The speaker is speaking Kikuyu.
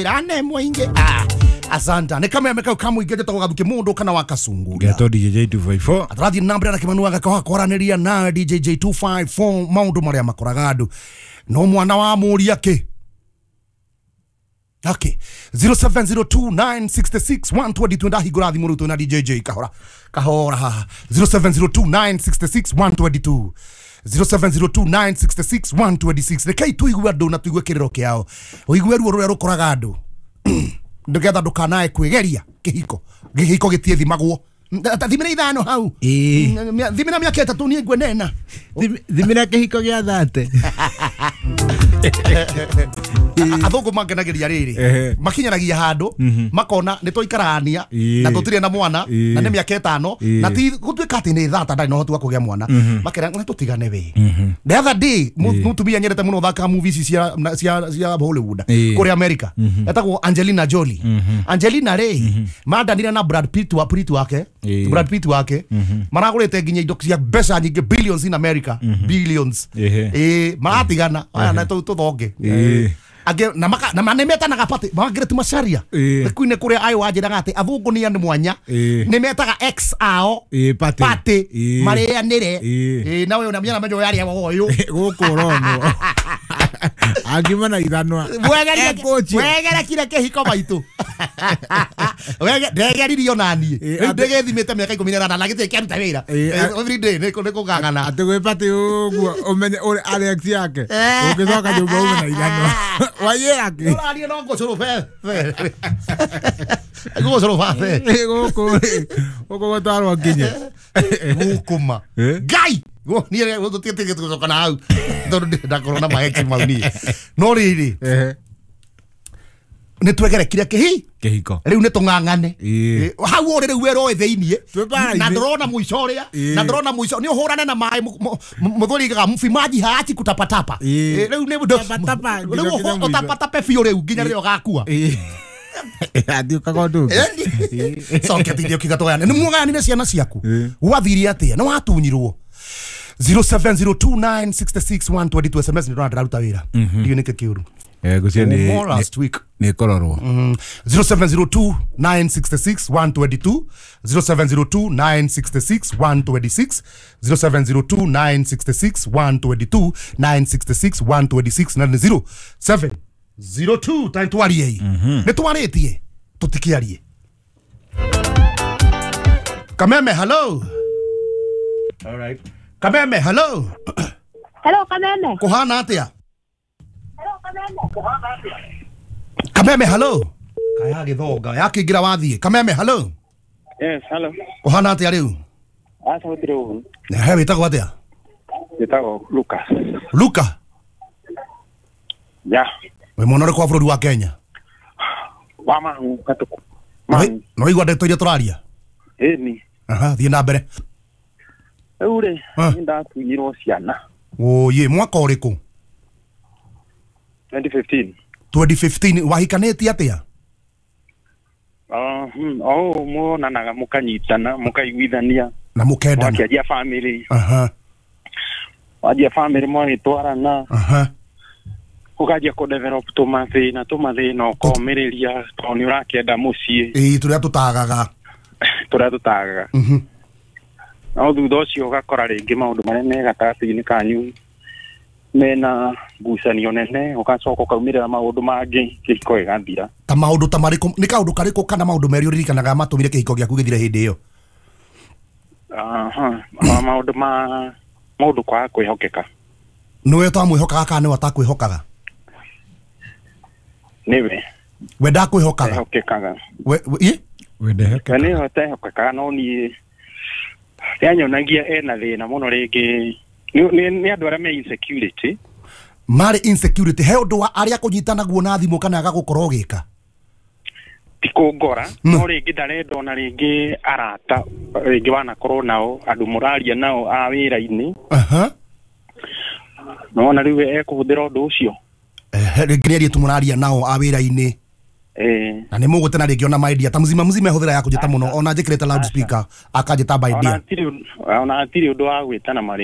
Wĩra nĩ mũingĩ. Asante. Nĩ kameme kau kamũingĩ njĩtagwo Gathuki mũndũ kana wa Kasungura. Ngetwo DJ 254. Atũrathiĩ na mbere na Kĩmanu agakoha kwaranĩria nawe DJ 254 maũndũ marĩa makoraga andũ. No mwana wa mũria kĩ? Okay. 0702966122 ndahingũra thimũ rĩu twĩna DJ kahora. Kahora haha. 0702966122. 0702966126. Rekei tuigue andũ na tuigue kĩrĩro kĩao. Ũigue ruo rũrĩa rũkoraga andũ. Nĩgetha ndũkanae kwĩgeria kĩhiko. Kĩhiko gĩtiĩthimagwo. Thimĩra ithano hau. Thimĩra mĩaka ĩtatũ niĩ ngwenena. Thimĩra kĩhiko gĩa thate. Athũngũ mangenageria rĩrĩ makinyanagia handũ makona nĩ tũikarania na tũtirĩ na mwana na nĩ mĩaka ĩtano na ti gũtuĩka atĩ nĩ thata ndarĩ na ũhoti wa kũgĩa mwana makera nĩ tũtigane we. The other day mũtumia nyendete mũno thaka movies cia Hollywood kũrĩa America etagwo Angelina Jolie. Angelina rĩ mandanire na Brad Pitt wa Pitt wake Brad Pitt wake maragũrĩte nginya indo cia mbeca nyingĩ billions in America billions maratigana aya na tũthonge Age na maka na manemeta party Margaret Macharia kuine kuria ayo wanjiraga ati athungu ni andu mwanya ni metaga ex ao party mareanire na we una menya menyo yaria woyo guku rono angima na ithanwa wegera kire kihiko maitu wege ndegeririo nanie riu ndegethimite miaka 18 na gitĩ kĩaruta wĩra every day nĩ kũng'ang'ana atĩ gwĩ party ũguo ũmenye ũrĩ Alex yake ũngĩcoka nyũmba ume na ithanwa waiĩra kĩ ũraria no ngũcũrũ be ngũcũrũ babe gũkũ gũkũ gũtwarwo nginye gũkũma Ngai niĩ gũtũtigĩte gũcoka na hau tondũ ndakorwo na maheki mau niĩ no rĩrĩ nĩ twegerekire kĩhiko rĩu nĩ tũng'ang'ane hau ũrĩ rĩu werwo thĩiniĩ na ndũrona mũico ũrĩa na ndũrona mũico nĩ ũhũrane na maĩ mũthuri igaga mfimaji haachi kutapatapa rĩu nĩ rĩu ũtapatape biũ rĩu nginya rĩrĩa ũgakua athiĩ ũkagondu coke tithie ũkiuga tũgayane nĩ muogayanire ciana ciaku gwathire atĩa nĩ watunyirwo 0702966122 SMS nĩ ndĩraruta wĩra ndiũ nĩkĩ kĩũru gucio last week ni kororwo 0702966122 0702966126 0702966122 966 126 na 0702 time twarie nĩ twarĩtie tũtikiarie Kameme hello. All right. Kameme hello. Hello Kameme. Kuhana atia? Kameme hello. Kaya githonga yakingira wathie. Kameme hello. Yes hello. Kuhana atia riu? Aca gutire ugu. He witagwo atia? Witagwo Luka. Luka? Ya. We mwana ũrĩkũ wa bũrũri wa Kenya? Wa Mahu Gatuku. No igua ndeto iria tũraria? Ĩni. Aha, thiĩ na mbere. Rĩu rĩ, nĩ ndatunyirwo ciana. Oye, mwaka ũrĩkũ? 2015. 2015 wahikanĩtie atĩa? Oh, muonanaga mũkanyitana, mũkaiguithania na mũkendana. Mwakĩanjia family. Aha. Wanjia family mwagĩtwarana. Aha. Ũkanjia kũ develop tũmathĩna ũkomĩrĩria tondũ nĩ ũrakĩenda mũciĩ. Ĩĩ tũrĩa tũtagaga. Tũrĩa tũtagaga. No thutha ũcio ũgakora rĩngĩ maũndũ marĩa me gatagatĩ-inĩ kanyu mena ngucanio nene ũgacoka ũkaumĩrĩra maũndũ mangĩ kĩhiko gĩgathira. Ta maũndũ ta marĩkũ? Nĩ kaũndũ karĩkũ kana maũndũ merĩ ũririkanaga matũmire kĩhiko gĩaku gĩthire hĩndĩ ĩyo? Aha, maũndũ ma maũndũ kwaga kwĩhokeka. Nĩwe ũtamwĩhokaga kana nĩwe atakwĩhokaga? Nĩwe. We ndakwĩhokaga? Ehokekaga. We ĩ? We ndehokekaga. Nĩwe ũtehokekaga no niĩ nĩanyonagia ena thĩna mũno rĩngĩ nĩ andũ arĩa me insecurity. Marĩ insecurity he ũndũ wa arĩa kũnyitanaguo na thimũ kana agagũkorwo ũgĩka? Ti kũngora no rĩngĩ ndarenda ona rĩngĩ arata rĩngĩ wanakorwo nao andũ mũraria nao a wĩra-inĩ. Aha. Nona rĩu ekũhũthĩra ũndũ ũcio. Rĩngĩ nĩ airĩtu mũraria nao a wĩra-inĩ. Na nĩ mũgũtena rĩngĩ ona my dear ta mzima mzima hũthĩra ya kũnjĩta mũno ona njĩkĩrĩte loudspeaker akanjĩta my dear. Ona hatirĩ ũndũ wa gwĩtana marĩtwa.